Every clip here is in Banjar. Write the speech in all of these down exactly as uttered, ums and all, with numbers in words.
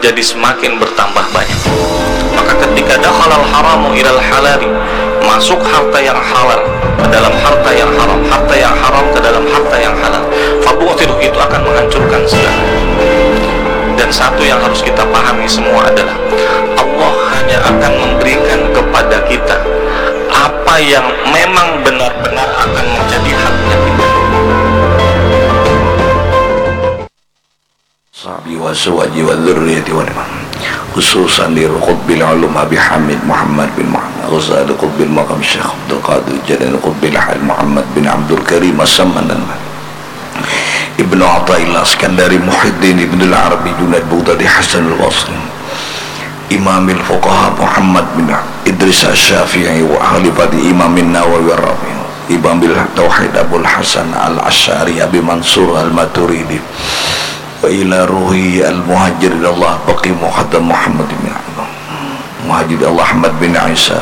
jadi semakin bertambah banyak. Maka ketika dakhalal haramu ilal halali, masuk harta yang halal ke dalam harta yang haram, harta yang haram ke dalam harta yang halal, fabutilu, itu akan menghancurkan segala. Dan satu yang harus kita pahami semua adalah Allah hanya akan memberikan kepada kita apa yang memang benar-benar akan menjadi haknya kita. Sahbi wa suwaji wa dzurriyyati wa liman. Khususan di Qutbil Ulum Abi Hamid Muhammad bin Muhammad Ghazali, Qutbil Maqam Syekh Abdul Qadir Jalil, Qutbil Hal Muhammad bin Abdul Karim As-Saman dan Ibnu Athaillah Iskandari, Muhyiddin Ibnul Arabi, Junaid, Baghdadi, Hasan Al-Basri, Imamil Fuqaha Muhammad bin Idris Asy-Syafi'i, wa Khalifati Imamin Nawawi Ar-Rafi, Imamil Tauhid Abul Hasan Al-Asy'ari, Abi Mansur Al-Maturidi, wa ila ruhi al-muhajir ilallah Baqi Muhammad bin Muhajir Allah Ahmad bin Isa,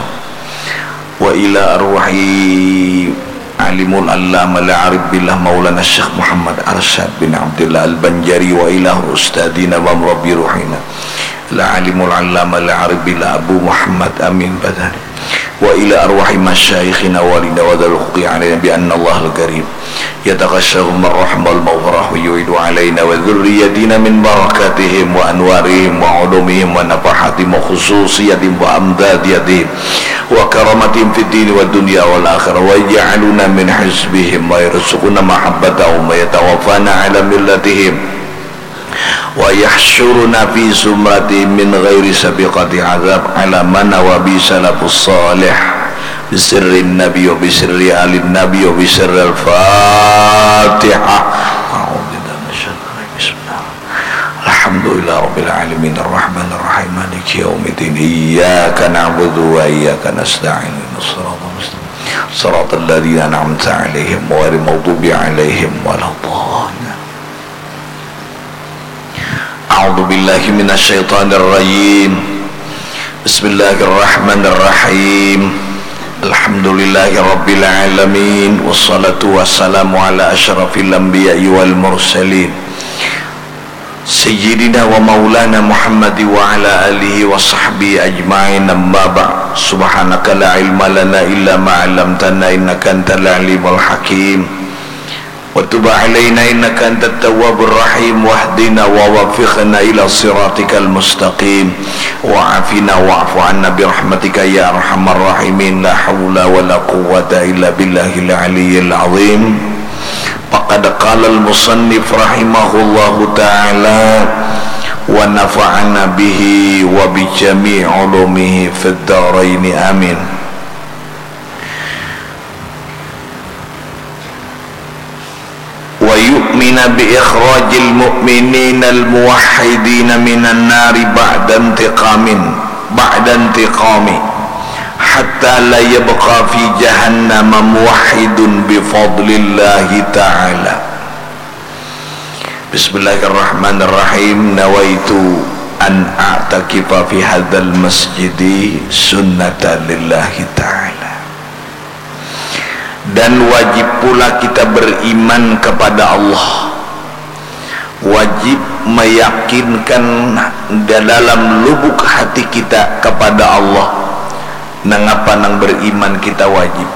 wa ila arwahi alimul allama al-arif billah Maulana Syekh Muhammad Arsyad bin Abdullah Al-Banjari, wa ila ustadzina wa murabbi ruhina al-alimul allama al-arif billah Abu Muhammad Amin Badani, wa ila arwahi masyaikhina walina wa dzal huquqi alaina bi anna Allahal karim yataghassyahum ar-rahmah wal maghfirah wa yu'idu alaina wa dzurriyyatina min barakatihim wa anwarihim wa ulumihim wa nafahatihim wa khususiyatihim wa amdadiyatihim wa karamatihim fid dini wa dunya wal akhirah wa yaj'aluna min hizbihim wa yarzuquna mahabbatahum wa yatawaffana ala millatihim wa yahsyuruna fi zumratihim min ghairi sabiqati azab ala ma nawa bi salafus salih bi sirrin nabi wa bi sirri alin nabi wa bi sirril fatihah. A'udzu billahi minasyaitonir rajim. Bismillah. Alhamdulillah rabbil alamin arrahmanir rahim maliki yaumiddin iyyaka na'budu wa iyyaka nasta'in ihdinas siratal mustaqim siratal ladzina an'amta alaihim ghairil maghdubi alaihim waladdallin. A'udzu billahi minasy syaithanir rajim. Bismillahirrahmanirrahim. Alhamdulillahi rabbil alamin. Wassalatu wassalamu ala asyrafil anbiya'i wal mursalin. Sayyidina wa maulana Muhammad wa ala alihi wa sahbihi ajma'in, amma ba'd. Subhanaka la ilma lana illa ma 'allamtana innaka antal alimul hakim. Wa tub alaina innaka antat tawwabur rahim, wahdina wa waffiqna ila siratikal mustaqim, wa afina wa'fu anna bi rahmatika ya arhamar rahimin, la haula wa la quwwata illa billahil aliyyil azim. Faqad qala al musannif rahimahullahu ta'ala wa nafa'ana bihi wa bi jami'i ulumihi fid daraini amin. Wa yu'mina bi ikhrajil mu'mininal muwahhidina minan nari ba'da intiqamin, ba'da intiqami, hatta la yabqa fi jahannama muwahhidun bi fadlillahi ta'ala. Bismillahirrahmanirrahim. Nawaitu an a'takifa fi hadzal masjidi sunnatan lillahi ta'ala. Dan wajib pula kita beriman kepada Allah. Wajib meyakinkan di dalam lubuk hati kita kepada Allah. Nangapa nang beriman kita wajib?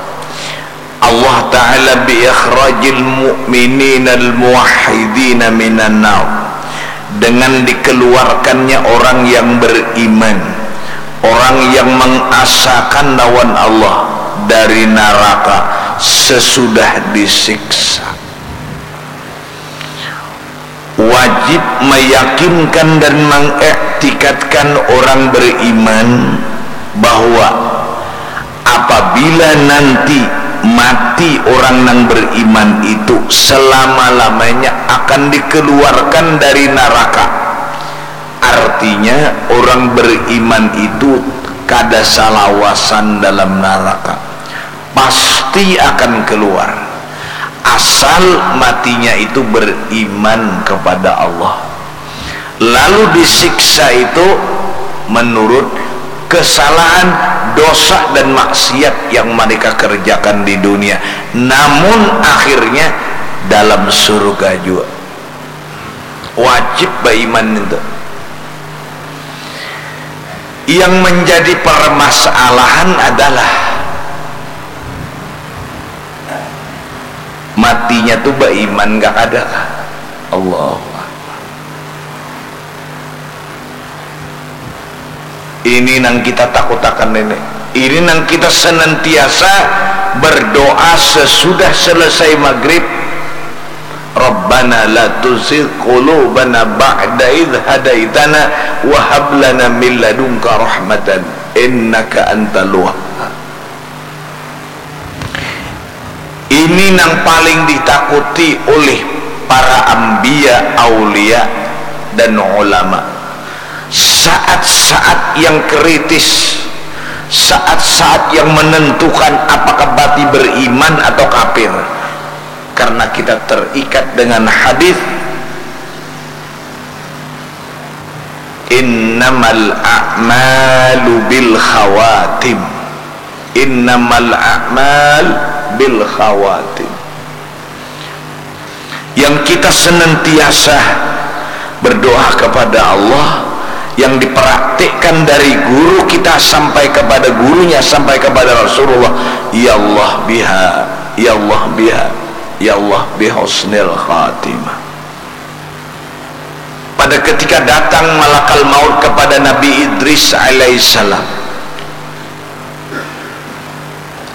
Allah Ta'ala bi ikhrajil mu'mininal muwahhidina minan nar, dengan dikeluarkannya orang yang beriman, orang yang mengasakan lawan Allah dari naraka sesudah disiksa. Wajib meyakinkan dan mengiktikadkan orang beriman bahwa apabila nanti mati orang nang beriman itu, selama-lamanya akan dikeluarkan dari naraka. Artinya, orang beriman itu kada salawasan dalam naraka, pasti akan keluar, asal matinya itu beriman kepada Allah. Lalu disiksa itu menurut kesalahan, dosa, dan maksiat yang mereka kerjakan di dunia. Namun, akhirnya dalam surga juga. Wajib beriman itu. Yang menjadi permasalahan adalah matinya tu baiman kah kada kah? Allahu Akbar. Ini nang kita takutakan ini. Ini nang kita senantiasa berdoa sesudah selesai maghrib. Rabbana la tuzigh qulubana ba'da idh hadaitana wa hab lana min ladunka rahmatan innaka antal wahhab. Ini nang paling ditakuti oleh para ambia, aulia, dan ulama. Saat-saat yang kritis, saat-saat yang menentukan apakah mati beriman atau kafir. Karena kita terikat dengan hadis, "Innamal a'malu bil khawatim." Innamal a'mal bil khawatim. Yang kita senantiasa berdoa kepada Allah, yang dipraktikkan dari guru kita sampai kepada gurunya, sampai kepada Rasulullah, "Ya Allah biha, ya Allah biha, ya Allah bihusnil khatimah." Pada ketika datang malakal maut kepada Nabi Idris alaihissalam,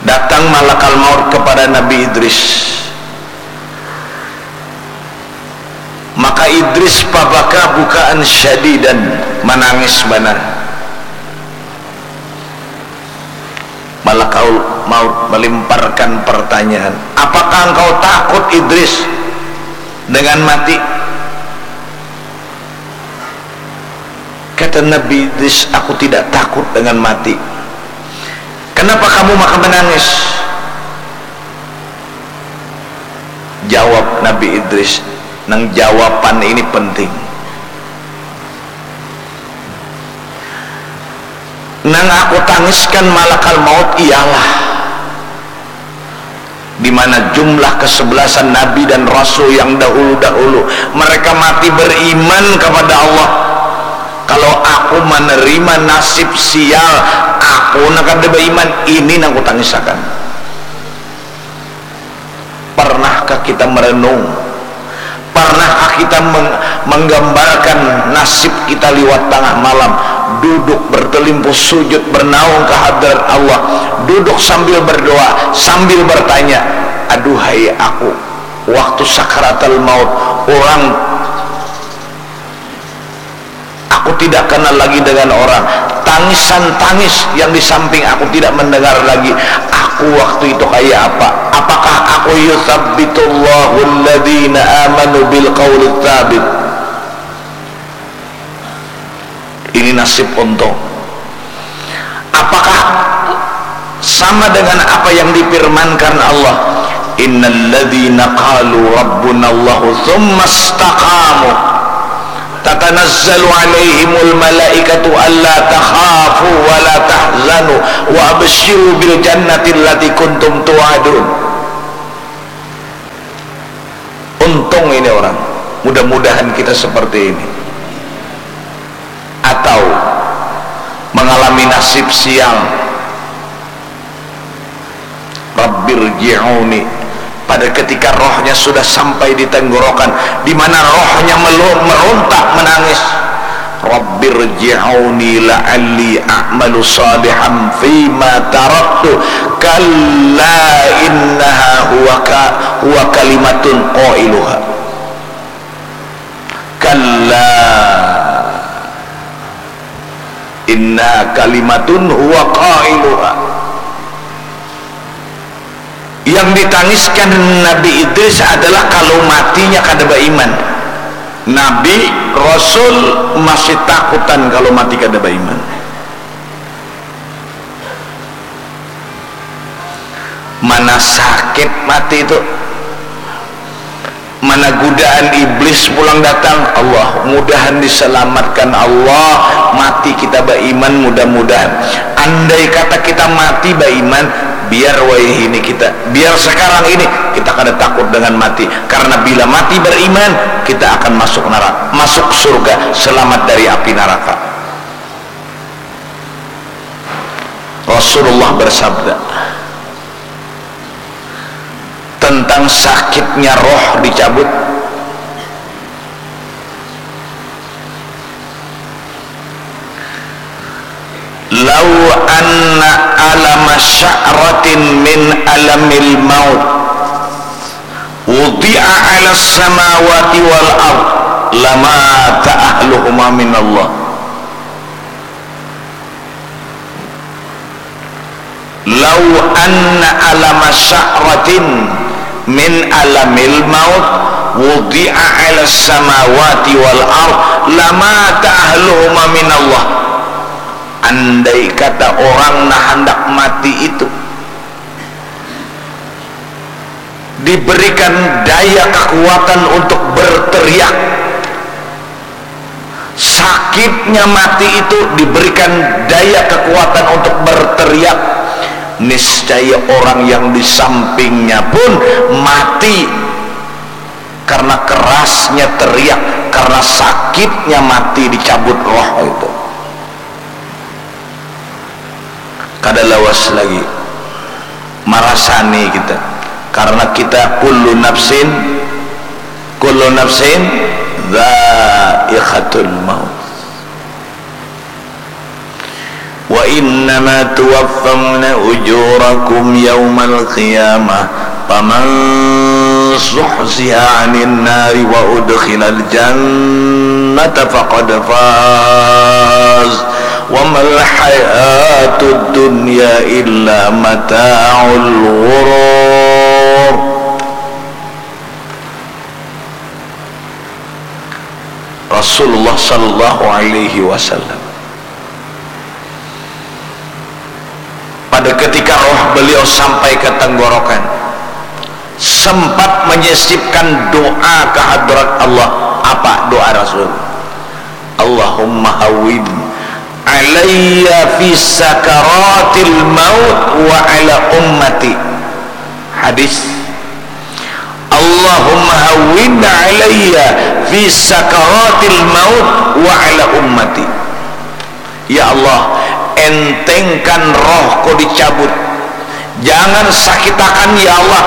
datang malakal maut kepada Nabi Idris, maka Idris pabaka bukaan syadidan, manangis banar. Malakal maut melemparkan pertanyaan, "Apakah engkau takut, Idris, dengan mati?" Kata Nabi Idris, "Aku tidak takut dengan mati." "Kenapa kamu maka menangis?" Jawab Nabi Idris, nang jawaban ini penting. Nang aku tangiskan malakal maut ialah di mana jumlah kesebelasan nabi dan rasul yang dahulu-dahulu mereka mati beriman kepada Allah. Kalau aku menerima nasib sial, aku nang kada beriman, ini nang kutangisakan. Pernahkah kita merenung? Pernahkah kita meng-, menggambarkan nasib kita liwat tangah malam, duduk bertelimpuh sujud bernaung ke hadrat Allah, duduk sambil berdoa, sambil bertanya, "Aduhai aku, waktu sakaratul maut, orang aku tidak kenal lagi dengan orang. Tangisan tangis yang di samping aku tidak mendengar lagi. Aku waktu itu kayak apa? Apakah aku yutsabbitullahu alladzina amanu bil qauli tsabit?" Ini nasib untung. Apakah sama dengan apa yang difirmankan Allah, "Innalladzina qalu rabbunallahu tsumma istaqamu tatanazzalu alaihimul malaikatu alla takhafu wa la tahzanu wa absyiru bil jannati allati kuntum tu'adun." Untung ini orang. Mudah-mudahan kita seperti ini. Atau mengalami nasib sial. Rabbirji'uni. Pada ketika rohnya sudah sampai di tenggorokan, di mana rohnya melu-, merontak menangis. Rabbirji'uni la'alli a'malu salihan fima taraktu. Kalla innaha huwa ka-, huwa kalimatun qailuha. Kalla inna kalimatun huwa qailuha. Yang ditangiskan Nabi Idris adalah kalau matinya kada baiman. Nabi, Rasul masih takutan kalau mati kada baiman. Mana sakit mati itu. Mana godaan iblis pulang datang. Allah, mudahan diselamatkan Allah, mati kita baiman, mudah-mudahan. Andai kata kita mati baiman, biar wayahini kita, biar sekarang ini kita kada takut dengan mati. Karena bila mati beriman, kita akan masuk neraka, masuk surga, selamat dari api neraka. Rasulullah bersabda tentang sakitnya roh dicabut, "Lau anna alama sya'ratin min alamil maut wudi'a ala samawati wal ard lamata ahluhuma minallah." "Lau anna alama sya'ratin min alamil maut wudi'a ala samawati wal ard lamata ahluhuma minallah." Andai kata orang nah handak mati itu diberikan daya kekuatan untuk berteriak, sakitnya mati itu diberikan daya kekuatan untuk berteriak, niscaya orang yang di sampingnya pun mati karena kerasnya teriak, karena sakitnya mati dicabut roh itu. Kada lawas lagi marasani kita, karena kita kullu nafsin, kullu nafsin dzaiqatul maut. Wa innama tuwaffawna ujurakum yaumal qiyamah, faman zuhziha 'anin nari wa udkhilal jannata faqad faz, wa mal hayatud dunya illa mata'ul ghurur. Rasulullah sallallahu alaihi wasallam, pada ketika roh beliau sampai ke tenggorokan, sempat menyisipkan doa ke hadrat Allah. Apa doa Rasul? "Allahumma hawwin alayya fi sakaratil maut wa ala ummati." Hadis, "Allahumma hawwin alayya fi sakaratil maut wa ala ummati." Ya Allah, entengkan rohku dicabut. Jangan sakitakan, ya Allah,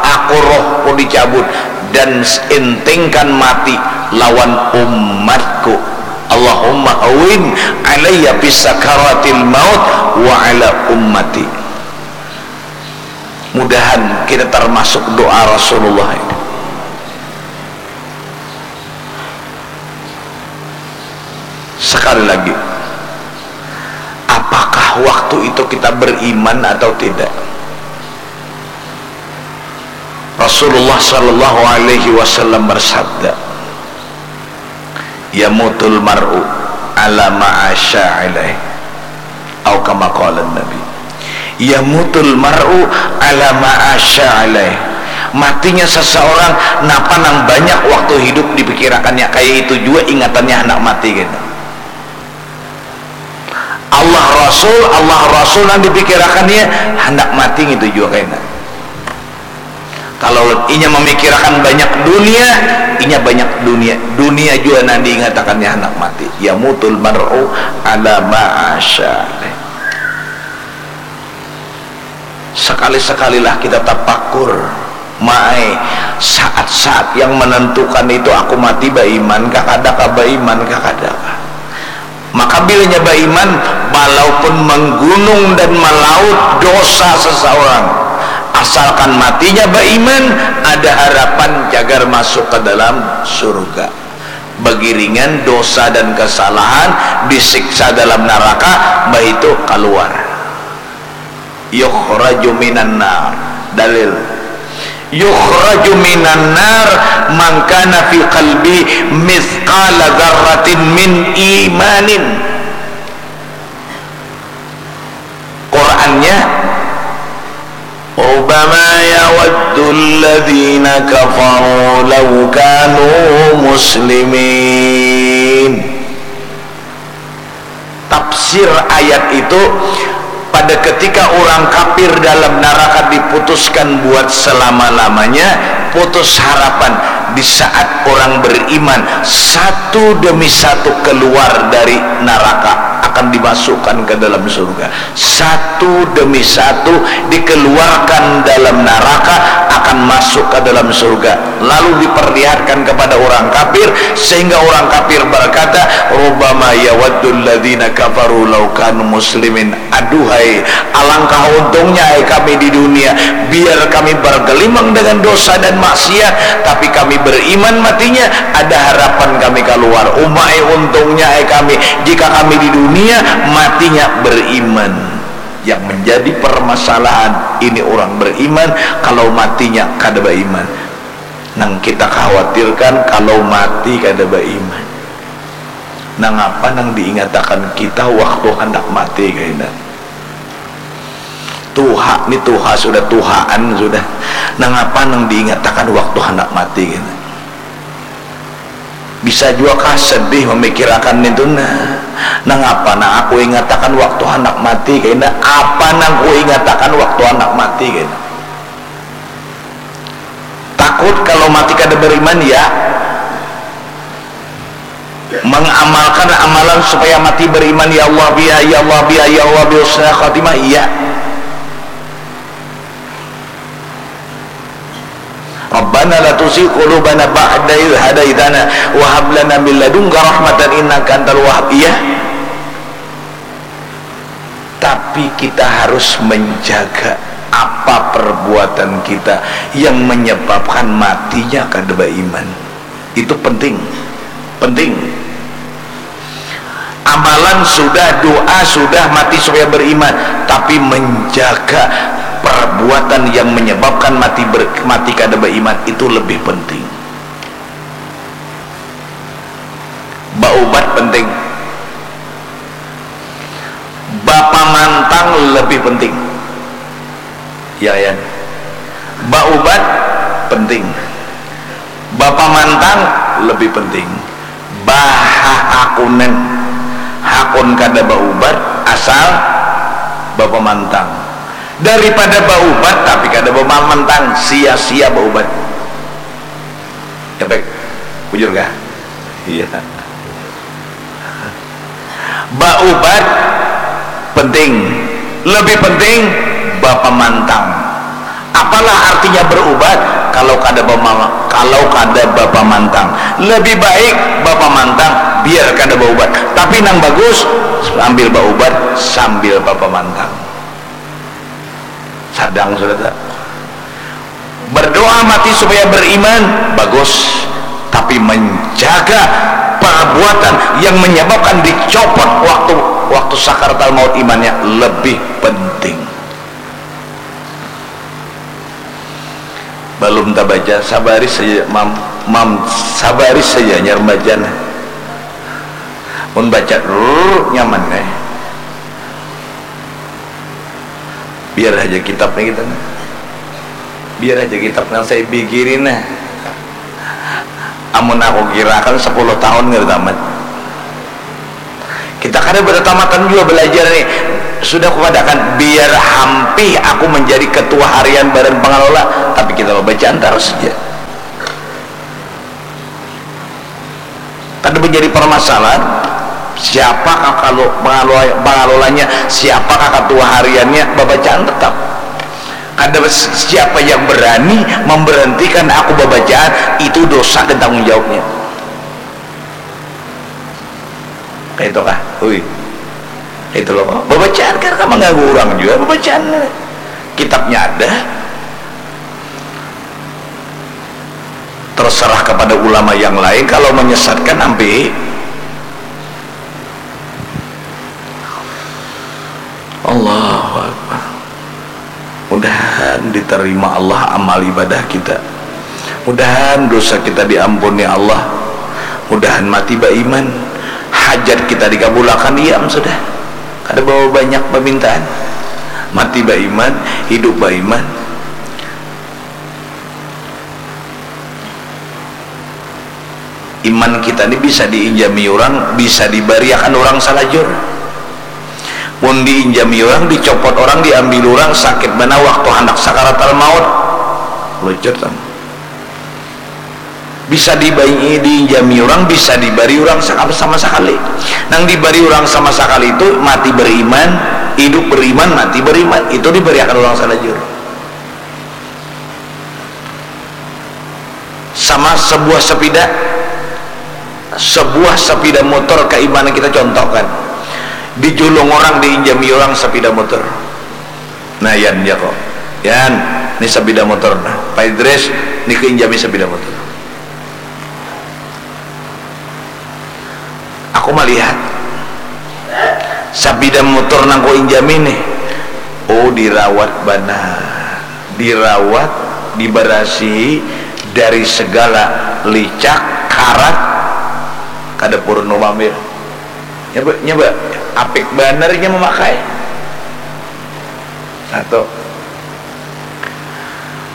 aku, rohku dicabut, dan entengkan mati lawan umatku. Allahumma hawwin alayya fi sakaratil maut wa ala ummati. Mudahan kita termasuk doa Rasulullah ini. Sekali lagi, apakah waktu itu kita beriman atau tidak? Rasulullah sallallahu alaihi wasallam bersabda, "Yamutul mar'u ala ma asya alaih." Au kama qala Nabi, "Yamutul mar'u ala ma asya alaih." Matinya seseorang napa nang banyak waktu hidup dipikirakannya, kaya itu jua ingatannya handak mati kena. Allah Rasul, Allah Rasul nang dipikirakannya, handak mati ngitu jua kena. Kalau inya mamikirakan banyak dunia, inya banyak dunia, dunia jua nang diingatakannya handak mati. Yamutul mar'u ala ma asya. Sekali-sekalilah kita tapakur, maai, saat-saat yang menentukan itu aku mati baiman kah kada kah, baiman kah kada kah. Maka bilanya baiman, walaupun menggunung dan melaut dosa seseorang, asalkan matinya baiman, ada harapan cagar masuk ke dalam surga. Begiringan dosa dan kesalahan, disiksa dalam naraka, baitu kaluar. Yukhraju minan nar. Dalil. Yukhraju minan nar man kana fi qalbi mithqala dzarratin min imanin. Qurannya, "Rubama yawaddul ladzina kafaru law kanu muslimin." Tafsir ayat itu, pada ketika orang kafir dalam naraka diputuskan buat selama-lamanya, putus harapan di saat orang beriman satu demi satu keluar dari naraka. akan dimasukkan ke dalam surga. Satu demi satu dikeluarkan dalam neraka, akan masuk ke dalam surga. Lalu diperlihatkan kepada orang kafir, sehingga orang kafir berkata, "Rubbama yawaddul ladzina kafaru law kanu muslimin." Aduhai, alangkah untungnya ai kami di dunia, biar kami bergelimang dengan dosa dan maksiat, tapi kami beriman matinya, ada harapan kami keluar. Umai untungnya ai kami, jika kami di dunia matinya beriman. Yang menjadi permasalahan, ini orang beriman, kalau matinya kada beriman. Nang kita khawatirkan kalau mati kada beriman. Nangapa nang diingatakan kita waktu handak mati kaina? Tuha ni tuha sudah, tuhaan sudah. Nangapa nang diingatakan waktu handak mati kaina? Bisa jua kah sedih memikirakan itu nah. Nangapa nang aku ingatakan waktu handak mati kaina? Apa nang ku ingatakan waktu handak mati kaina? Takut kalau mati kada beriman, ya. Mengamalkan amalan supaya mati beriman, ya Allah biha, ya Allah biha, ya Allah bi husnil khatimah, iya. Rabbana la tuzigh qulubana ba'da idh hadaitana wa hab lana min ladunka rahmatan innaka antal wahhab, iya. Tapi kita harus menjaga apa perbuatan kita yang menyebabkan matinya kada beriman. Itu penting. Penting. Amalan sudah, doa sudah, mati supaya beriman, tapi menjaga perbuatan yang menyebabkan mati ber, mati kada beriman itu lebih penting. Baubat penting. Bapamantang lebih penting. Ya, ya. Baubat penting. Bapamantang lebih penting. Bahahakunan. Hakun kada baubat, asal bapamantang. Daripada baubat tapi kada bapamantang, sia-sia baubat. Kepek, bujur kah? Iya. Baubat penting, lebih penting bapamantang. Apalah artinya berubat kalau kada bama-, kalau kada bapamantang? Lebih baik bapamantang, biar kada baubat. Tapi nang bagus, sambil baubat, sambil bapamantang. Sadang sudah tak? Berdoa mati supaya beriman, bagus. Tapi menjaga perbuatan yang menyebabkan dicopot waktu, waktu sakaratul maut imannya lebih penting. Balum tabaca, sabari saja, Mam. Mam, sabari saja, nya remaja nah. Mun baca, rrrr, nyaman, eh. Biar haja kitab nih kita nih. Biar haja kitab nang saya pikirin nah. Amun aku kirakan sepuluh tahun kada tamat. Kita kada bertamatan juga belajar nih. Sudah kupadakan, biar hampih aku menjadi ketua harian badan pengelola, tapi kita bacaan terus saja. Kada menjadi permasalahan siapakah kalau pengelola, pengelolanya, siapakah ketua hariannya, babacaan tetap. Kada, siapa yang berani memberhentikan aku babacaan, itu dosa dan tanggung jawabnya. Kayak itu kah? Ui. Itu loh. Babacaan kan, kan mengganggu orang juga babacaan. Kitabnya ada. Terserah kepada ulama yang lain, kalau menyesatkan, ambil. Allahu Akbar. Mudahan diterima Allah amal ibadah kita. Mudahan dosa kita diampuni Allah. Mudahan mati baiman. Hajat kita dikabulakan, diam sudah. Kada bawa banyak permintaan. Mati baiman, hidup baiman. Iman kita ni bisa diinjami urang, bisa dibariakan urang salajur. Mun diinjami urang, dicopot urang, diambil urang, sakit banar waktu handak sakaratal maut. Lucur tam. Bisa dibai diinjami urang, bisa dibari urang sama sakali. Nang dibari urang sama sakali itu mati beriman, hidup beriman, mati beriman, itu dibariakan urang salajur. Sama sebuah sepida, sebuah sepida motor kaimanan kita contohkan, dijulung orang, diinjami orang sepida motor. Nah, Yan, ya kok, Yan, ni sepida motor, nah, Pak Idris, ni keinjami sepida motor. Aku melihat sapida motor nang ku injami nih, oh, dirawat banar, dirawat, dibarasihi dari segala licak, karat, kada purun mamambil. Nyoba, nyoba, apik banar inya mamakai. Satu.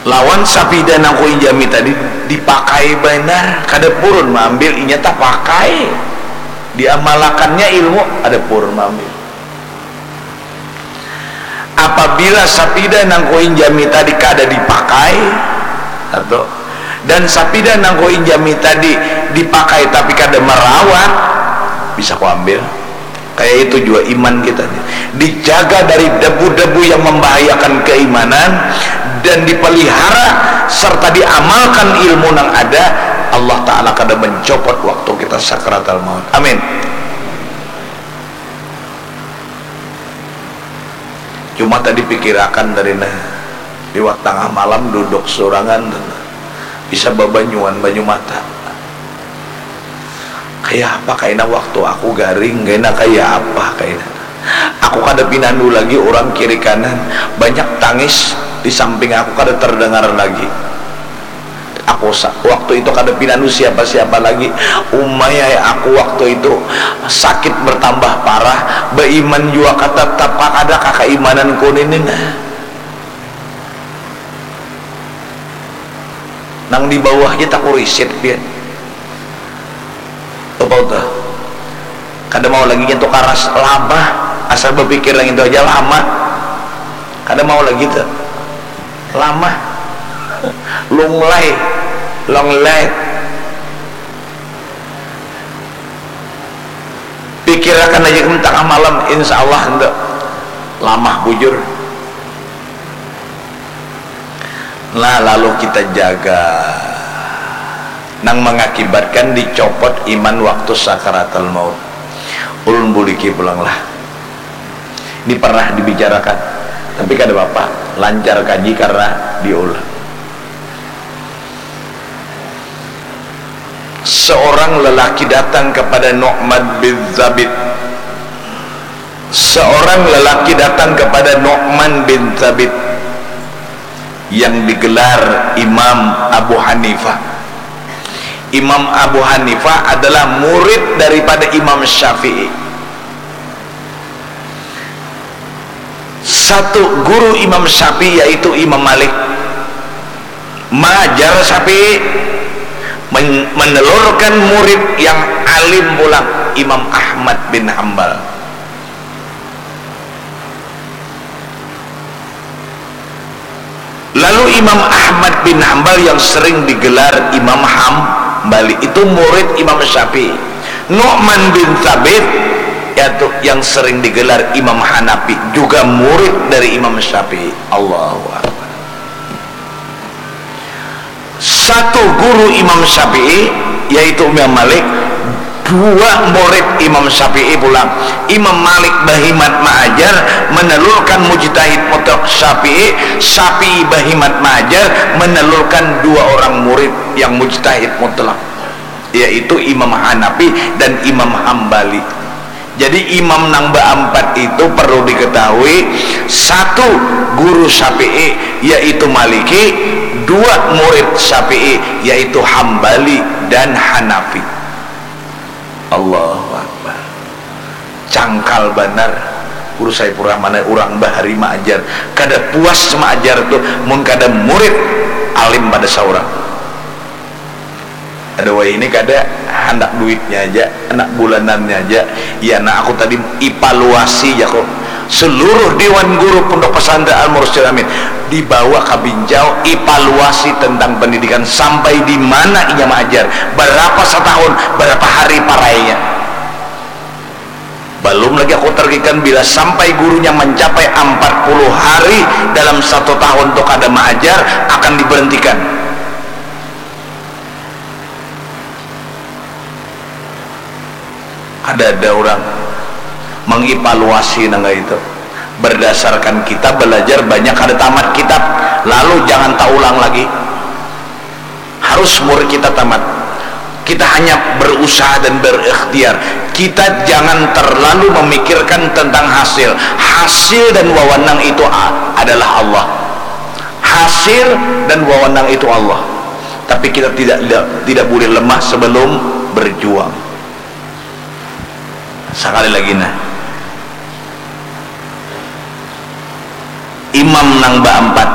Lawan sapida nang ku injami tadi dipakai banar, kada purun maambil, inya tapakai, diamalakannya ilmu, kada purun maambil. Apabila sapida nang ku injami tadi kada dipakai, satu, dan sapida nang ku injami tadi dipakai tapi kada marawat, bisa ku ambil. Kaya itu jua iman kita nih. Dijaga dari debu-debu yang membahayakan keimanan dan dipelihara serta diamalkan ilmu nang ada, Allah Ta'ala kada mencopot waktu kita sakaratal maut. Amin. Cuma tadi pikirakan tadi nah, liwat tangah malam duduk surangan tuh nah. Bisa babanyuan banyu mata. Kaya apa kaina waktu aku garing, kaina kaya apa kaina. Aku kada pinandu lagi urang kiri kanan, banyak tangis di samping aku kada terdengar lagi. Aku sa-, waktu itu kada pinandu siapa-siapa lagi. Umai ai aku waktu itu sakit bertambah parah, baiman jua ka-, tetap kada kakaimananku nini nah. Nang di bawah ja takurisit pian. Apa tuh? Kada mau lagi nyentuh karas, lama. Asal bapikir nang itu aja lama. Kada mau lagi tuh. Lama. Lunglai. Long life. Pikirakan aja tangah malam, insya Allah itu lama bujur. Nah, lalu kita jaga nang mengakibatkan dicopot iman waktu sakaratul maut. Ulun buliki pulang lah. Ini pernah dibicarakan, tapi kada apa-apa, lancar kaji karena diulang. Seorang lelaki datang kepada Nu'man bin Thabit. Seorang lelaki datang kepada Nu'man bin Thabit yang digelar Imam Abu Hanifah. Imam Abu Hanifah adalah murid daripada Imam Syafi'i. Satu guru Imam Syafi'i yaitu Imam Malik. Maajar Syafi'i men-, menelurkan murid yang alim pulang, Imam Ahmad bin Hambal. Lalu Imam Ahmad bin Hambal yang sering digelar Imam Hambali itu murid Imam Syafi'i. Nu'man bin Thabit, yaitu yang sering digelar Imam Hanafi, juga murid dari Imam Syafi'i. Allahu Akbar. Satu guru Imam Syafi'i, yaitu Imam Malik, dua murid Imam Syafi'i pulang. Imam Malik bahimat maajar, menelurkan mujtahid mutlak Syafi'i, Syafi'i bahimat maajar, menelurkan dua orang murid yang mujtahid mutlak, yaitu Imam Hanafi dan Imam Hambali. Jadi, imam nang baampat itu perlu diketahui, satu guru Syafi'i, yaitu Maliki, dua murid Syafi'i, yaitu Hambali dan Hanafi. Allahu Akbar. Cangkal banar. Guru Saifur Rahman, urang bahari maajar. Kada puas maajar tu mun kada murid alim pada saurang. Ada wayahini kada, handak duitnya aja, handak bulanannya aja. Ya, nah, aku tadi evaluasi ja ko. Seluruh Dewan Guru Pondok Pesantren Al Mursyid Amin dibawa ke Binjau, evaluasi tentang pendidikan sampai di mana inya mengajar, berapa setahun, berapa hari parainya. Belum lagi aku tergikan bila sampai gurunya mencapai empat puluh hari dalam satu tahun tu kada mengajar, akan diberhentikan. Kada ada orang mengevaluasi nang itu. Berdasarkan kita belajar banyak kada tamat kitab, lalu jangan taulang lagi. Harus murid kita tamat. Kita hanya berusaha dan berikhtiar. Kita jangan terlalu memikirkan tentang hasil. Hasil dan wewenang itu a-, adalah Allah. Hasil dan wewenang itu Allah. Tapi kita tidak tidak boleh lemah sebelum berjuang. Sekali lagi nah, imam nang baampat,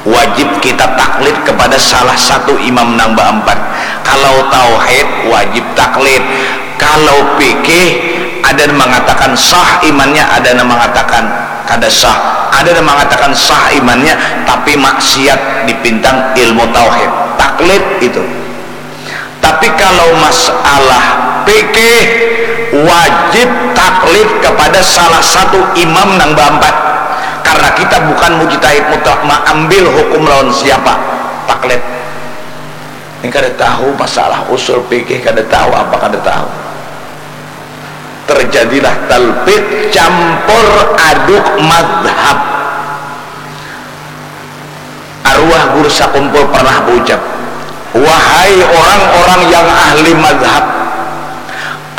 wajib kita taklid kepada salah satu imam nang baampat. Kalau tauhid, wajib taklid. Kalau fikih, ada yang mengatakan sah imannya, ada yang mengatakan kada sah. Ada yang mengatakan sah imannya, tapi maksiat di bintang ilmu tauhid. Taklid itu. Tapi kalau masalah fikih, wajib taklid kepada salah satu imam nang baampat. Karena kita bukan mujtahid mutlak, maambil hukum lawan siapa. Taklid. Ini kada tahu masalah usul fikih, kada tahu apa, kada tahu. Terjadilah talbid, campur aduk madhab. Arwah guru sakumpul pernah baucap, "Wahai orang-orang yang ahli madhab,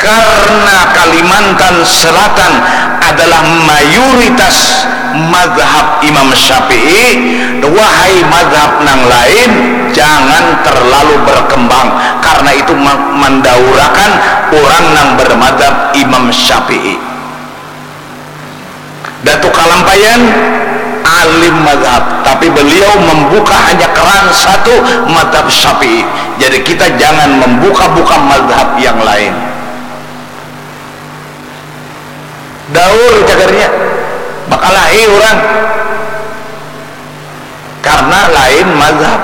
karena Kalimantan Selatan adalah mayoritas madhab Imam Syafi'i, wahai madhab nang lain, jangan terlalu berkembang, karena itu ma-, mandaurakan orang nang bermadhab Imam Syafi'i." Datu Kalampayan alim madhab, tapi beliau membuka hanya keran satu, madhab Syafi'i. Jadi kita jangan membuka-buka madhab yang lain. Daur cagarnya, bakalahi orang. Karena lain madhab.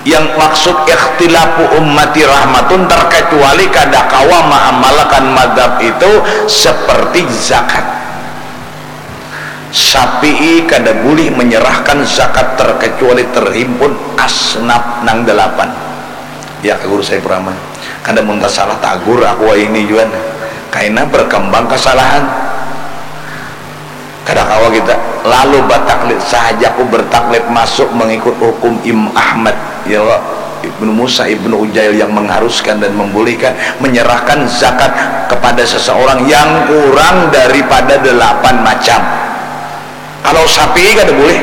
Yang maksud ikhtilafu ummati rahmatun, terkecuali kada kawa maamalkan madhab itu seperti zakat. Syafi'i kada bulih menyerahkan zakat terkecuali terhimpun asnaf nang dalapan. Ya, ka guru saya purama. Kada mun tasalah tagur aku ini juan. Kaina berkembang kesalahan. Kada kawa kita lalu bataklid sahaja, aku bertaklid masuk mengikut hukum Imam Ahmad, ya Allah, Ibnu Musa, Ibnu Ujail yang mengharuskan dan membolehkan menyerahkan zakat kepada seseorang yang kurang daripada delapan macam. Kalau Syafi'i kada boleh.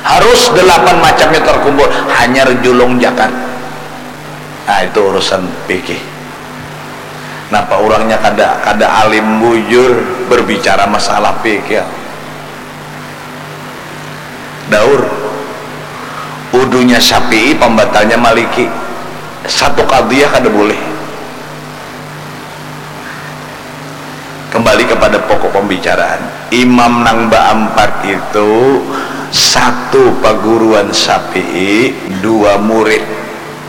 Harus delapan macamnya terkumpul, hanyar julung zakat. Nah, itu urusan fikih. Napa urangnya kada, kada alim bujur berbicara masalah fikih? Daur. Wudunya Syafi'i, pambatalnya Maliki. Satu qadhiyah kada boleh. Kembali kepada pokok pembicaraan. Imam nang baampat itu satu paguruan Syafi'i, dua murid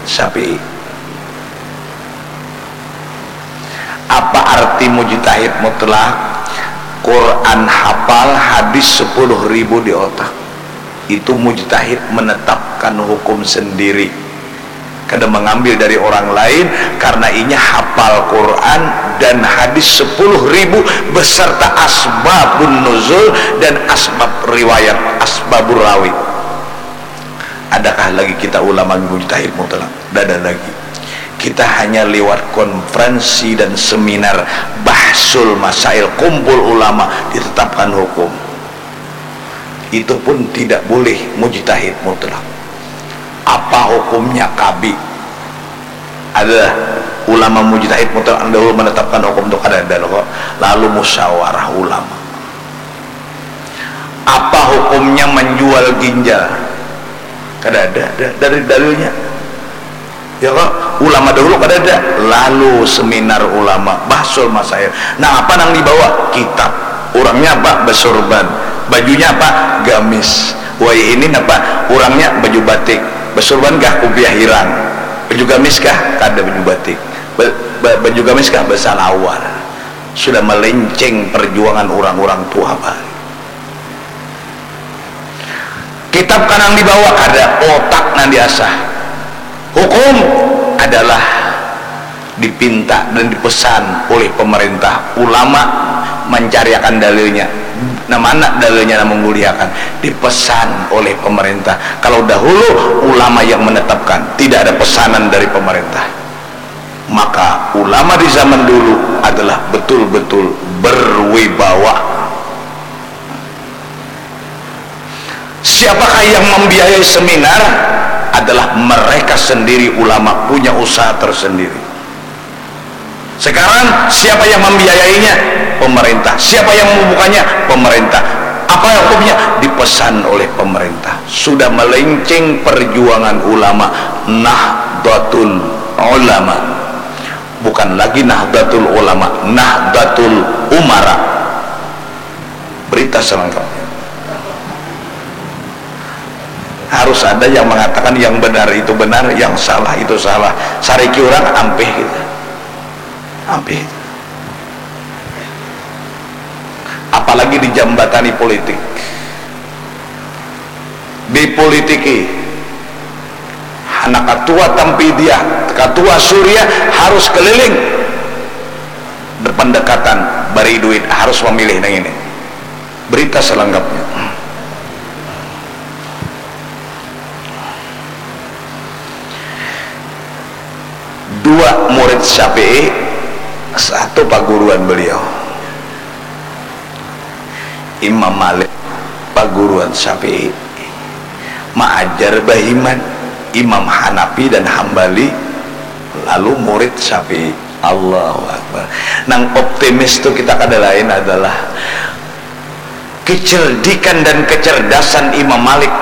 Syafi'i. Apa arti mujtahid mutlak? Quran hafal, hadis sepuluh ribu di otak. Itu mujtahid menetapkan hukum sendiri. Kada mengambil dari orang lain, karena inya hapal Quran dan hadis sepuluh ribu beserta asbabun nuzul dan asbab riwayat, asbabur rawi. Adakah lagi kita ulama mujtahid mutlak? Dada lagi. Kita hanya lewat konferensi dan seminar, bahsul masail, kumpul ulama, ditetapkan hukum. Itu pun tidak boleh mujtahid mutlak. Apa hukumnya kabi? Ada ulama mujtahid mutlak nang dahulu menetapkan hukum tu? Kada ada lo kok. Lalu musyawarah ulama. Apa hukumnya menjual ginjal? Kada ada, ada dari dalilnya. Ya kok? Ulama dahulu kadada, lalu seminar ulama, bahsul masail. Nah, apa nang dibawa? Kitab. Urangnya apa? Besurban. Bajunya apa? Gamis. Wayahini napa? Urangnya baju batik. Besurban kah? Kupiah hirang. Baju gamis kah? Kada baju batik. Be-, be-, baju gamis kah? Besalawar. Sudah melenceng perjuangan urang-urang tuha bahari. Kitab kanang dibawa kada, otak nang diasah. Hukum adalah dipinta dan dipesan oleh pemerintah, ulama mancariakan dalilnya. Nah, mana dalilnya nang manggulihakan? Dipesan oleh pemerintah. Kalau dahulu ulama yang menetapkan, tidak ada pesanan dari pemerintah. Maka ulama di zaman dulu adalah betul-betul berwibawa. Siapakah yang membiayai seminar? Adalah mereka sendiri, ulama punya usaha tersendiri. Sekarang siapa yang membiayainya? Pemerintah. Siapa yang membukanya? Pemerintah. Apa hukumnya? Dipesan oleh pemerintah. Sudah melenceng perjuangan ulama, Nahdlatul Ulama. Bukan lagi Nahdlatul Ulama, Nahdlatul Umara. Berita selengkapnya. Harus ada yang mengatakan yang benar itu benar, yang salah itu salah. Sariki urang ampih kita. Ampih. Apalagi dijambatani politik. Dipolitiki. Anak katua Tampidiah, katua Suria harus keliling. Pendekatan, bari duit, harus memilih nang ini. Berita selengkapnya. Dua murid Syafi'i, satu paguruan beliau. Imam Malik, paguruan Syafi'i. Maajar bahiman, Imam Hanafi dan Hambali, lalu murid Syafi'i. Allahu Akbar. Nang optimis tu kita kada lain adalah kecerdikan dan kecerdasan Imam Malik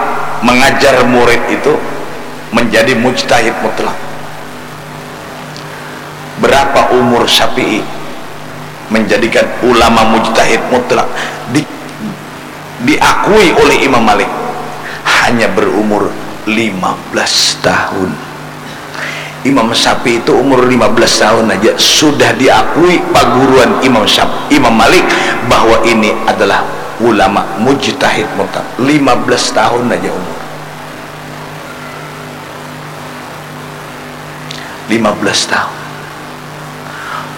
mengajar murid itu menjadi mujtahid mutlak. Berapa umur Syafi'i menjadikan ulama mujtahid mutlak di, diakui oleh Imam Malik? Hanya berumur lima belas tahun. Imam Syafi'i itu umur lima belas tahun aja sudah diakui paguruan Imam Syaf-, Imam Malik bahwa ini adalah ulama mujtahid mutlak. Lima belas tahun aja umur. Lima belas tahun.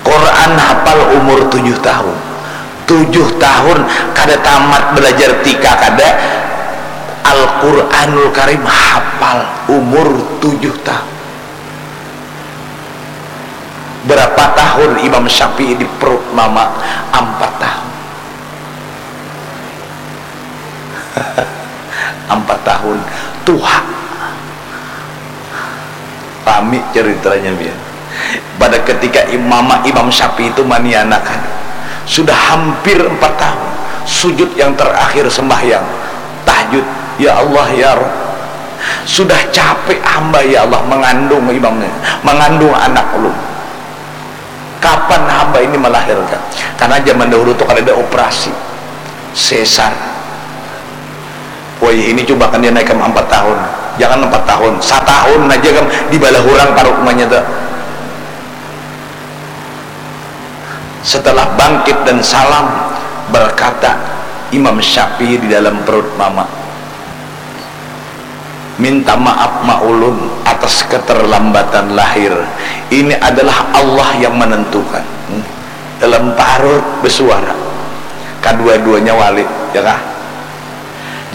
Quran hafal umur tujuh tahun. Tujuh tahun kada tamat belajar tika kada, Al-Quranul Karim hafal umur tujuh tahun. Berapa tahun Imam Syafi'i di perut mama? Empat tahun. Empat tahun. Tuha. Rami ceritanya, biar. Pada ketika Imam, Imam Syafi'i itu manianakan, sudah hampir empat tahun, sujud yang terakhir sembahyang, tahajud, "Ya Allah, ya Rabb, sudah capek hamba, ya Allah, mengandung imamnya, mengandung anak ulun. Kapan hamba ini melahirkan?" Karena zaman dahulu tuh kada ada operasi, sesar. Woi, ini coba kan dia naik kam empat tahun. Jangan empat tahun, satahun aja kam dibalah urang parut umanya tuh. Setelah bangkit dan salam, berkata Imam Syafi'i di dalam perut mama, "Minta maaf ma ulun atas keterlambatan lahir. Ini adalah Allah yang menentukan." Dalam parut bersuara. Kadua-duanya wali, ya kah?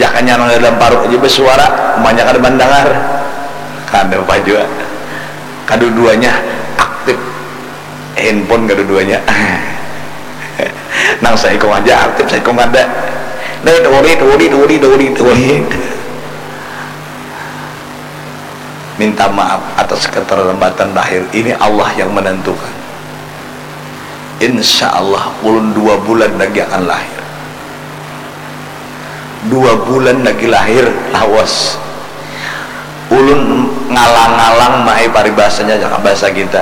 Jakanya nang dalam parut aja bersuara, umanya kada mendengar. Kada apa jua. Kadua-duanya aktif. Handphone kadua-duanya. Nang saikung aja aktif, saikung kada. Nih, durit, durit, durit, durit, durit. Minta maaf atas keterlambatan lahir. Ini Allah yang menentukan. Insya Allah, ulun dua bulan lagi akan lahir. Dua bulan lagi lahir, lawas. Ulun Ngalang-ngalang mai paribasanya, bahasa kita.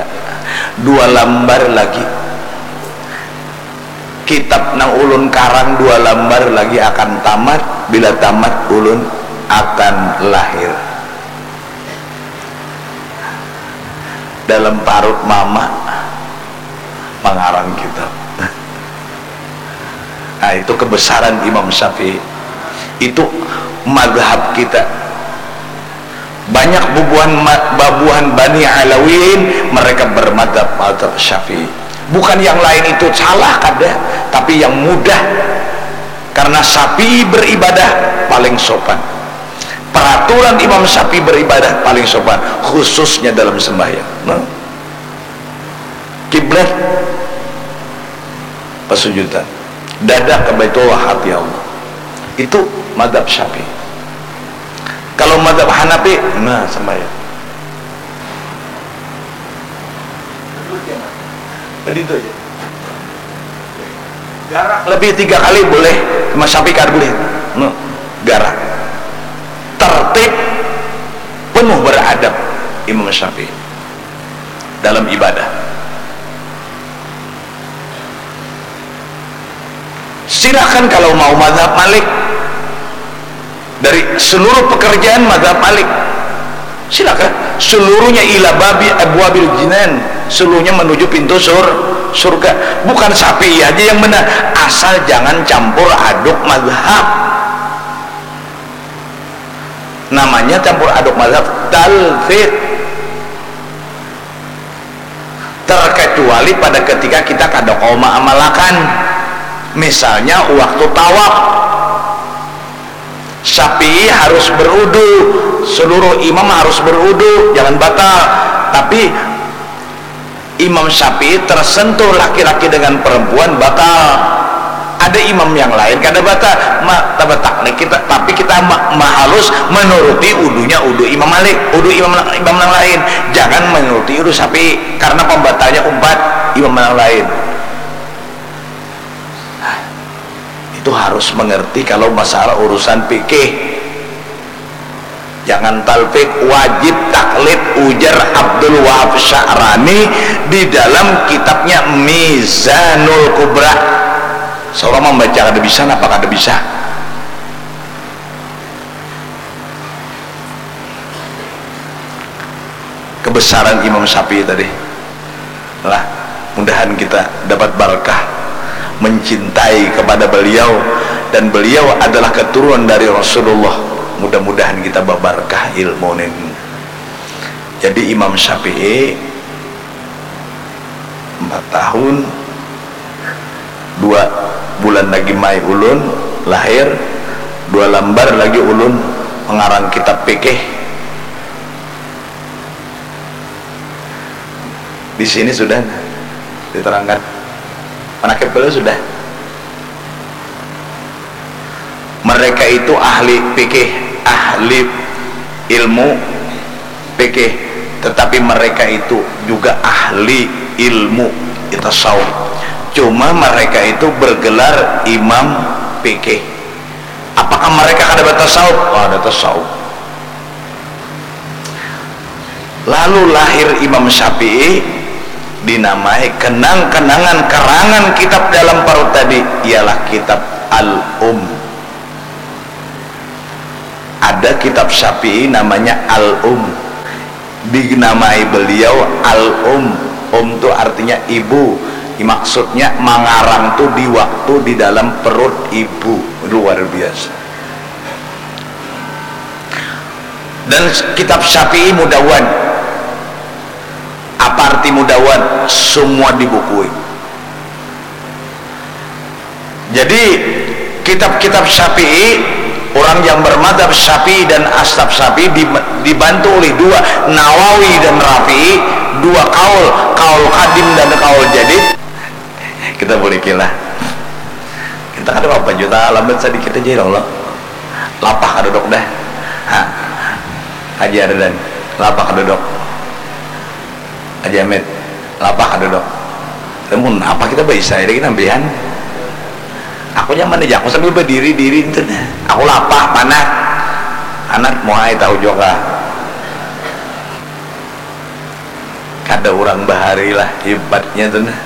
Dua lambar lagi. Kitab nang ulun karang dua lambar lagi akan tamat. Bila tamat, ulun akan lahir. Dalam parut mama mangarang kitab. Nah, itu kebesaran Imam Syafi'i. Itu madhab kita. Banyak bubuhan ma-, babuhan Bani Alawiyin, mereka bermadhab, madhab Syafi'i. Bukan yang lain itu salah, kada, tapi yang mudah. Karena Syafi'i beribadah paling sopan. Peraturan Imam Syafi'i beribadah paling sopan, khususnya dalam sembahyang. Nah. Kiblat, pasujudan, dada ke Baitullah, hati Allah. Itu madhab Syafi'i. Kalau madhab Hanafi, nah, sembahyang. Begitu aja. Garak lebih tiga kali boleh, Imam Syafi'i kada boleh. Nah, garak. Tertib, penuh beradab Imam Syafi'i dalam ibadah. Silakan kalau mau madhab Malik, dari seluruh pekerjaan madhab Malik, silakan. Seluruhnya ila babi abwabil jinan, seluruhnya menuju pintu sur-, surga. Bukan Syafi'i aja yang benar, asal jangan campur aduk madhab. Namanya campur aduk madhab, talfik. Terkecuali pada ketika kita kada kawa maamalakan. Misalnya waktu tawaf. Syafi'i harus berudu, seluruh imam harus berudu, jangan batal. Tapi Imam Syafi'i tersentuh laki-laki dengan perempuan, batal. Ada imam yang lain kada batal, ma-, tabatak nih kita, tapi kita ma-, mahalus menuruti udunya udu Imam Malik, udu imam, imam yang lain. Jangan menuruti udu Syafi'i, karena pembatalnya umpat imam yang lain. Itu harus mengerti kalau masalah urusan fikih. Jangan talfik, wajib taklid, ujar Abdul Wahab Sya'rani di dalam kitabnya Mizanul Kubra. Seorang membaca kada bisa, napa kada bisa? Kebesaran Imam Syafi'i tadi. Lah, mudahan kita dapat barakah mencintai kepada beliau, dan beliau adalah keturunan dari Rasulullah. Mudah-mudahan kita babarakah ilmu ini. Jadi Imam Syafi'i empat tahun, dua bulan lagi mai ulun lahir, dua lambar lagi ulun mengarang kitab fikih. Di sini sudah diterangkan. Manakib kalo sudah. Mereka itu ahli fikih, ahli ilmu fikih, tetapi mereka itu juga ahli ilmu tasawuf. Cuma mereka itu bergelar imam fikih. Apakah mereka kada bertasawuf? Oh, ada tasawuf. Lalu lahir Imam Syafi'i, dinamai kenang-kenangan karangan kitab dalam parut tadi ialah kitab Al-Um. Ada kitab Syafi'i namanya Al-Um. Dinamai beliau Al-Um. Um tu artinya ibu. Maksudnya mangarang tu di waktu di dalam perut ibu. Luar biasa. Dan kitab Syafi'i mudawan. Apa arti mudawan? Semua dibukui. Jadi kitab-kitab Syafi'i, orang yang bermadhab Syafi'i dan ashab Syafi'i di-, dibantu oleh dua, Nawawi dan Rafi'i, dua kaul, kaul kadim dan kaul jadid. Kita boleh kilah. Kita kada apa-apa jua, lambat sadikit aja ya Allah. Lapah kada dok dah. Ha. Haji Ardan, lapah kada dok. Haji Amit, lapah kada dok. Namun apa kita baisai lagi nampihan? Aku nyaman aja, aku sambil berdiri-diri itu dah. Aku lapah, panas. Anak muhai tahu juga. Kada urang bahari lah hibatnya tu nah.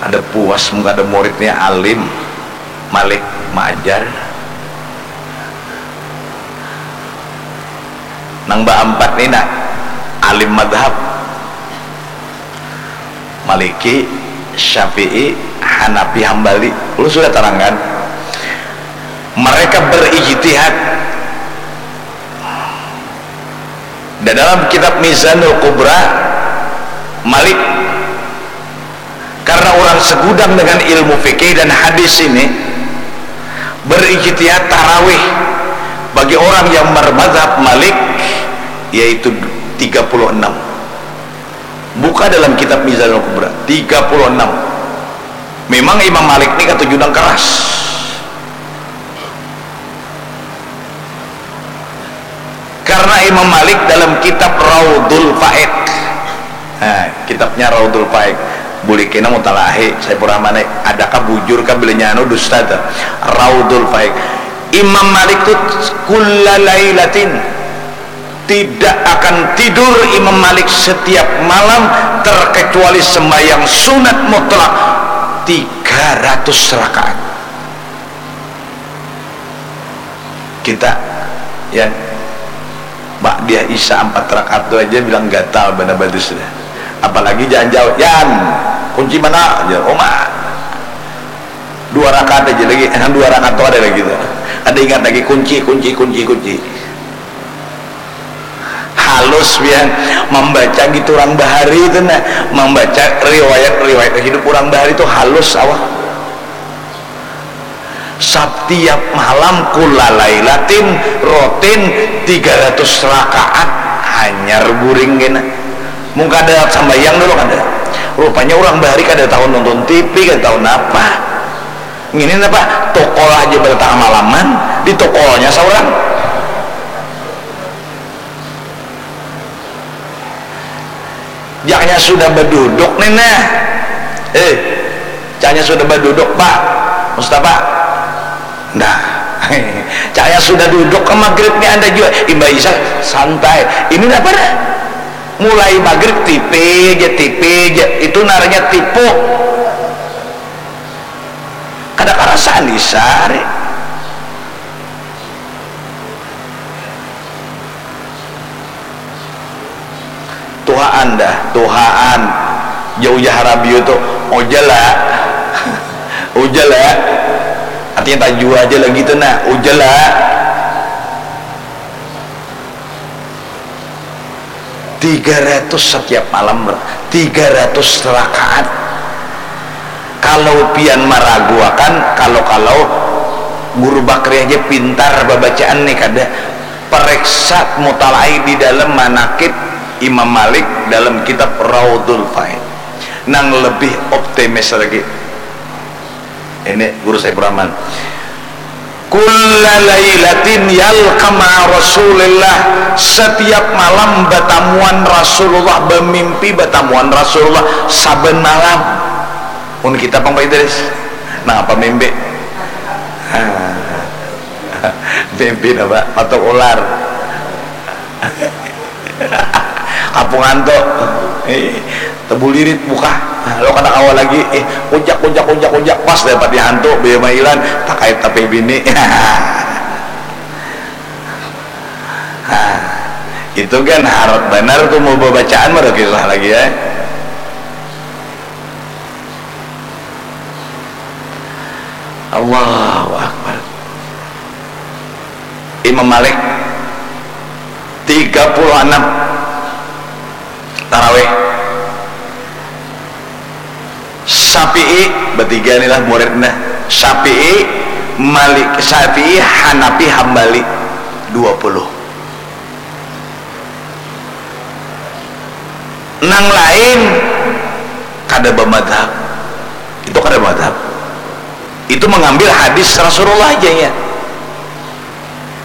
Kada puas mun kada muridnya alim, malik maajar. Nang baampat ni nah, alim madhab. Maliki, Syafi'i, Hanafi, Hambali. Lu sudah tarangkan. Mereka berijtihad. Dan dalam kitab Mizanul Kubra, Malik, karena orang segudang dengan ilmu fikih dan hadis ini, berijtihad tarawih bagi orang yang bermazhab Malik, yaitu tiga puluh enam. Buka dalam kitab Mizanul Kubra, tiga puluh enam. Memang Imam Malik ni katuju nang keras. Karena Imam Malik dalam kitab Raudul Faid, nah, kitabnya Raudul Faid, boleh kena mutalahi, saya pura mana, adakah bujur kah bilanya anu dusta tuh? Raudul Faid. Imam Malik tuh kulla lailatin, tidak akan tidur Imam Malik setiap malam terkecuali sembahyang sunat mutlak tiga ratus rakaat. Kita, ya, Pak, dia Isya empat rakaat tu aja bilang gatal banar batis dah. Apalagi jangan jauh, "Yan, kunci mana?" Aja, "Oma." Dua rakaat aja lagi, dua rakaat tu ada lagi tu. Ada ingat lagi, kunci, kunci, kunci, kunci. Halus pian membaca gitu orang bahari itu nah, membaca riwayat-riwayat hidup orang bahari itu halus awak. Setiap malam kulla lailatin rutin tiga ratus rakaat hanyar guring kena. Mun kada sambayang dulu kada. Rupanya orang bahari kada tahu nonton T V, kada tahu napa. Ngini napa? Tokol aja pada tengah malaman, di tokolnya seorang. Jaknya sudah baduduk nih nah. Eh, jaknya sudah baduduk, Pak Mustafa. Nah, jaknya sudah duduk ke maghrib nih anda juga. Imbah Isya santai. Ini apa dah? Mulai maghrib tipe aja, tipe aja. Itu naranya tipu. Kada karasaan Isya hari. Tuhaan dah, tuhaan. Jauh ja harabiu tu, ojala. Ojala. Artinya tajua aja lagi tu nah, ojala. Tiga ratus setiap malam, tiga ratus rakaat. Kalau pian maraguakan, kalau-kalau Guru Bakri aja pintar babacaan nih kada. Pareksa mutalaai di dalam manakib Imam Malik dalam kitab Raudul Faid. Nang lebih optimis lagi. Ini Guru Saifur Rahman. Kulla lailatin yalqa ma'a Rasulillah. Setiap malam batamuan Rasulullah, bamimpi batamuan Rasulullah saban malam. Mun kita pang Pak Idris. Nang apa mimpi? Mimpi napa? Patuk ular. Kapungan tu. Eh, tebulirit muka. Lo kada kawa lagi. Eh, kujak, kujak, kujak, kujak. Pas dapat dihantu, baya mailan. Takait tapi bini. Nah, itu kan harat banar tu mau babacaan mah kisah lagi ya. Allahu Akbar. Imam Malik tiga puluh enam tarawih. Syafi'i, bertiga ni lah muridnya. Syafi'i, Malik, Syafi'i, Hanafi, Hambali, dua puluh. Nang lain kada bamadhab. Itu kada madhab. Itu mengambil hadis Rasulullah aja ya.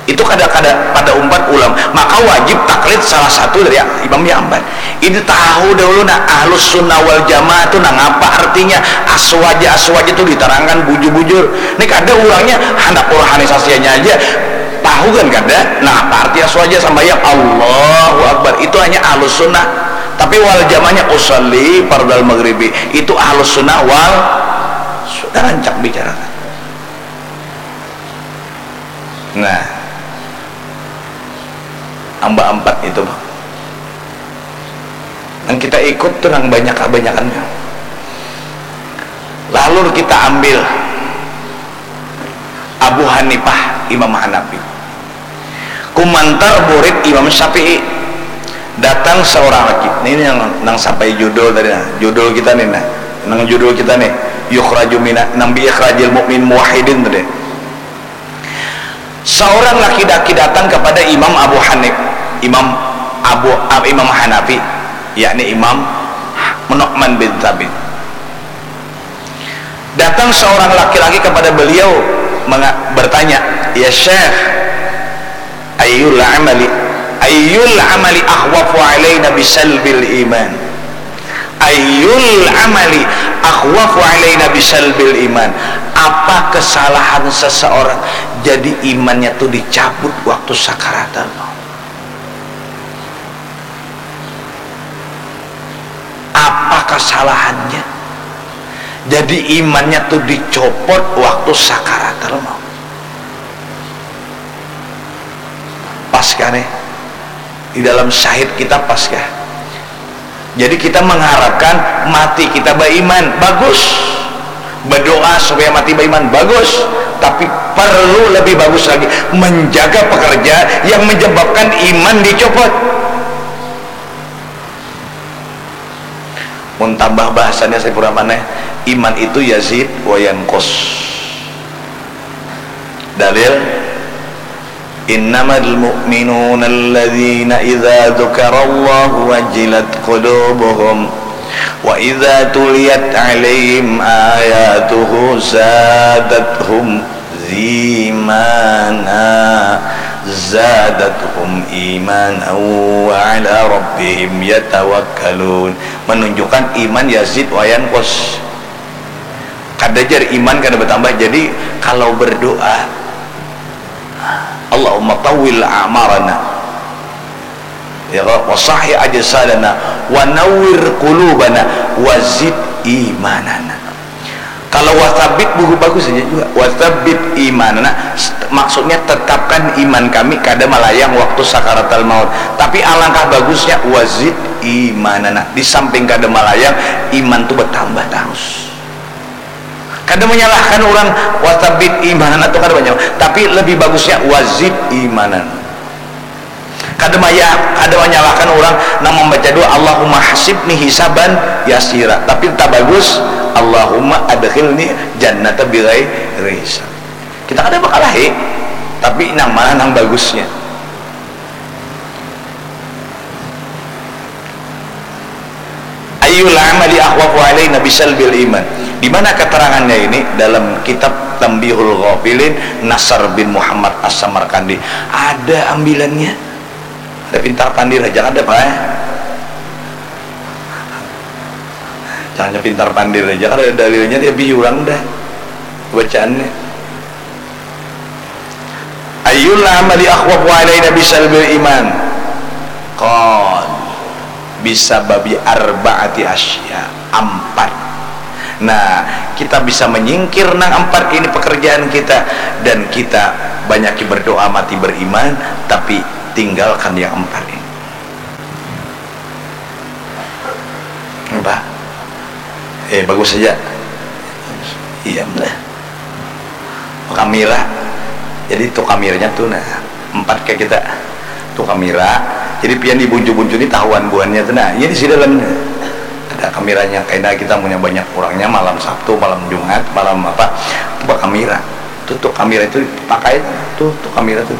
Itu kada, kada pada umpat ulama. Maka wajib taklid salah satu dari imam yang ambat. Ini tahu dahulu nah, ahlus sunnah wal jamaah itu nang apa artinya, aswaja, aswaja itu diterangkan bujur-bujur. Ini kada, orangnya hendak organisasinya aja tahu kan kada. Nah, apa arti aswaja? Sambayang Allahu Akbar, itu hanya ahlus sunnah. Tapi wal jamaahnya usalli fardal maghribi, itu ahlus sunnah wal sunnah, rancak bicarakan. Nah, amba empat itu, Bang. Yang kita ikut tuh yang banyak kebanyakannya. Lalu kita ambil Abu Hanifah, Imam Hanafi. Kumantar murid Imam Syafi'i. Datang seorang lagi. Ini yang nang sampai judul tadi, nah. Judul kita nih, nah. Nang judul kita nih. Yukhraju mina, nang bi ikhrajil mu'min muwahhidin tadi. Seorang laki-laki datang kepada Imam Abu Hanif, Imam Abu Imam Hanafi, yakni Imam Nu'man bin Thabit. Datang seorang laki-laki kepada beliau menga- bertanya, "Ya Syekh, ayyul amali ayyul amali akhwafu alaina bisalbil iman?" Ayyul amali akhwafu alaina bisalbil iman? Apa kesalahan seseorang jadi imannya tuh dicabut waktu sakaratul maut? Apa kesalahannya jadi imannya tuh dicopot waktu sakaratul maut? Pas kan, eh? Di dalam syahid kita pas kah? Jadi kita mengharapkan mati kita beriman, bagus. Berdoa supaya mati beriman, bagus. Tapi perlu lebih bagus lagi menjaga pekerjaan yang menyebabkan iman dicopot. Mun tambah bahasanya saya pura maneh, iman itu yazid wa yanqus. Dalil, innamal mu'minuna alladzina idza dzukarallahu wajilat qulubuhum wa idza tuliyat alaihim ayatuhu zadathum imana zadathum imana wa ala rabbihim yatawakkalun. Menunjukkan iman yazid wa yanqus. Kada jar iman kada bertambah. Jadi kalau berdoa, Allahumma tawil a'marana, ya, wa sahih ajsadana wa nawwir qulubana wa zid imanana. Kalau wa tsabbit buku bagus saja juga. Wa tsabbit imanana, maksudnya tetapkan iman kami kada malayang waktu sakaratul maut. Tapi alangkah bagusnya wa zid imanana. Di samping kada malayang, iman tu bertambah terus. Kada menyalahkan orang wa tsabbit imanana tu kada banyak. Tapi lebih bagusnya wa zid imanana. Kada maya, kada manyalahkan urang nang mambaca doa, "Allahumma hasibni hisaban yasira." Tapi tabagus, "Allahumma adkhilni jannata bighairi hisab." Kita kada bakalahi, tapi nang mana nang bagusnya? Ayyul amali akhwafu alaina bisalbil iman. Di mana keterangannya ini? Dalam kitab Tambihul Ghafilin, Nasar bin Muhammad As-Samarkandi. Ada ambilannya. Ada pintar pandir aja kada, Pak, eh? Jangan pintar pandir aja, kada ada dalilnya, dia biurang dah bacaannya. Ayyul amali akhwafu alaina bisalbil iman? Qal, bisababi arba'ati asya, ampat. Nah, kita bisa menyingkir nang ampat ini pekerjaan kita, dan kita banyaki berdoa mati beriman, tapi tinggalkan yang ampat ini. Apa? Eh, bagus saja. Iya, benar. Kamera. Jadi tu kameranya tu, nah, empat kayak kita. Tu kamera. Jadi pian di buncu-buncu ni tahuan buhannya tu, nah, iya di sini dalamnya. Ada kameranya. Kaina kita punya banyak orangnya malam Sabtu, malam Jumat, malam apa, tu bakamera. Tu, tu kamera itu pakai tu, tu kamera tu.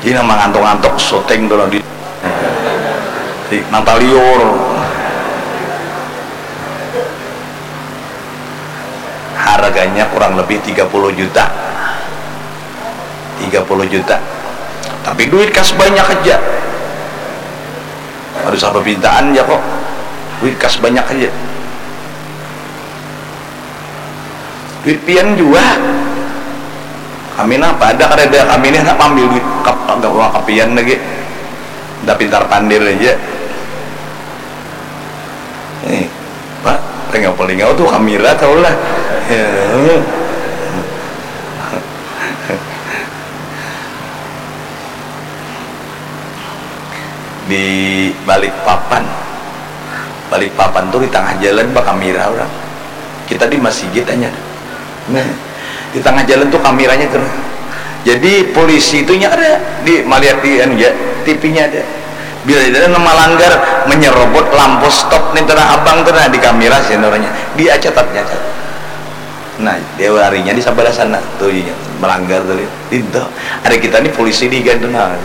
Ini mangantuk-ngantuk syuting tu lah di, di mata liur. Harganya kurang lebih tiga puluh juta. Tiga puluh juta. Tapi duit kas banyak aja. Aduh, sampai pintaan ya kok. Duit kas banyak aja. Duit pian jua. Kami napa ada kadada kami ni handak maambil duit kap-, kapian lagi. Dah pintar pandir aja. Eh, Pak, palingau-palingau tu kamira tahu lah. Di Balikpapan. Balikpapan tu di tangah jalan bakamira urang. Kita di masigit hanya. Nah, di tangah jalan tu kamiranya tu. Jadi polisi itu nya ada di malihat di anu ja, T V-nya ada. Bila ada nang malanggar, menyerobot lampu stop ni tu nah abang tu nah di kamira sih orangnya. Dia catat, catat. Nah, dia larinya di sebelah sana tu nya melanggar tadi. Itu ada kita ni polisi di gantungan.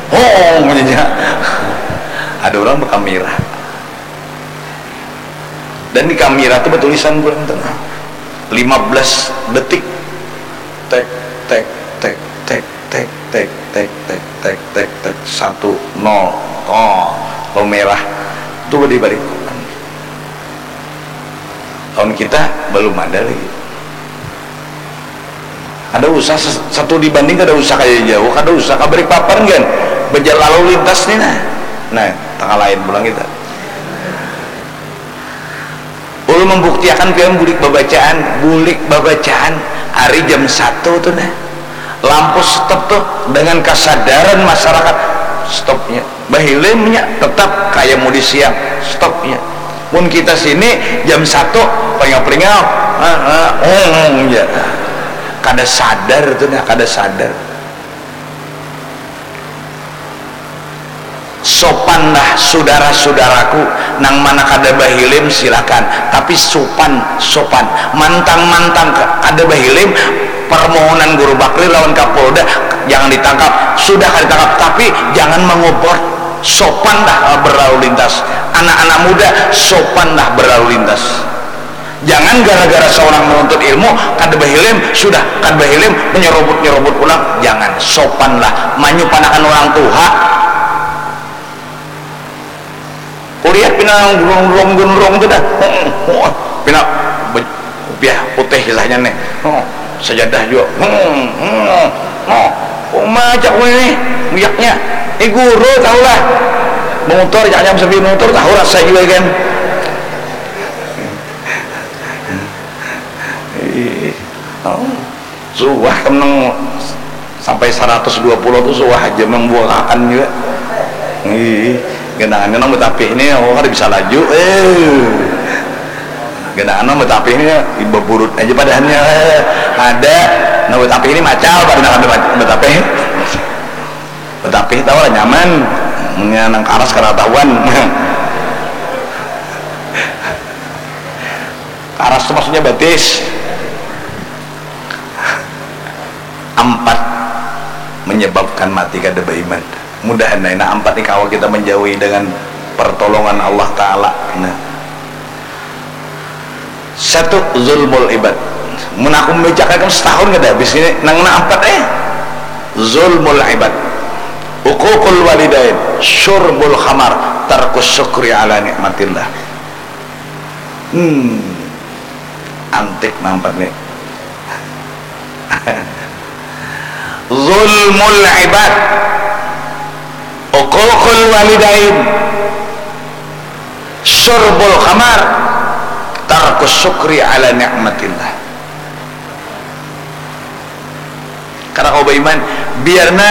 Oh, punya ada orang berkamera. Dan di kamera tu bertulisan bulan tengah lima belas detik. Tek, tek, tek, tek, tek, tek, tek, tek, tek, tek, tek, tek, tek, satu, nol. Oh, lo merah. Tu beri balik. Tahun kita belum ada lagi. Kada usah ses-, satu dibanding kada usah kaya jauh, kada usah ka Balikpapan kan. Bejalan lalu lintas ni nah. Nah, tangah lain pulang kita. Ulun membuktiakan pian bulik babacaan, bulik babacaan hari jam satu tu nah. Lampu stop tu dengan kesadaran masyarakat stopnya. Bahilimnya tetap kaya mudi siang, stopnya. Mun kita sini jam satu pringau-pringau, ha, ha, hmm, ya. Kada sadar tu nah, kada sadar. Sopan dah saudara-saudaraku, nang mana kada bahilim silakan, tapi sopan, sopan, mantang-mantang kada bahilim, permohonan Guru Bakri lawan Kapolda, jangan ditangkap, sudah kada ditangkap, tapi jangan mengobor, sopan dah berlalu lintas, anak-anak muda sopan dah berlalu lintas. Jangan gara-gara seorang menuntut ilmu kada bahilim, sudah kada bahilim menyerobot-nyerobot pulang. Jangan, sopanlah manyupanakan orang tuha. Kulihat pina gunrung-gunrung tu dah. Hmm, hmm, pina be-, kopiah putih kisahnya nih. Hmm, sajadah juga. Hmm, hmm, hmm. Uma cak ini muyaknya. Ini guru tahulah. Motor caknya sambil motor tahu rasa juga kan. Ih, oh, suah kan nang sampai seratus dua puluh tu suah aja membuangakan juga. Ih, genangannya nang betapih ini, oh, kada bisa laju. Eh, genangan nang betapih ini, beburut aja padahannya. Eh, ada nang betapih ini macal, pada nang ada mat-, betapih. Betapih tahu lah nyaman, munnya nang karas kada tahuan. Karas tu maksudnya batis. Ampat menyebabkan mati kada baiman. Mudahan nah, nah ampat ni kawa kita menjauhi dengan pertolongan Allah Ta'ala. Nah. Satu, zulmul ibad. Mun aku membacakan setahun kada habis ini, nang, nang ampat eh. Zulmul ibad. Uququl walidain, syurbul khamar, tarkus syukri ala nikmatillah. Hmm. Antik nampak nih. Zulmul ibad, uququl walidain, syurbul khamar, tarkus syukri ala nikmatillah. Karena kau beriman, biarna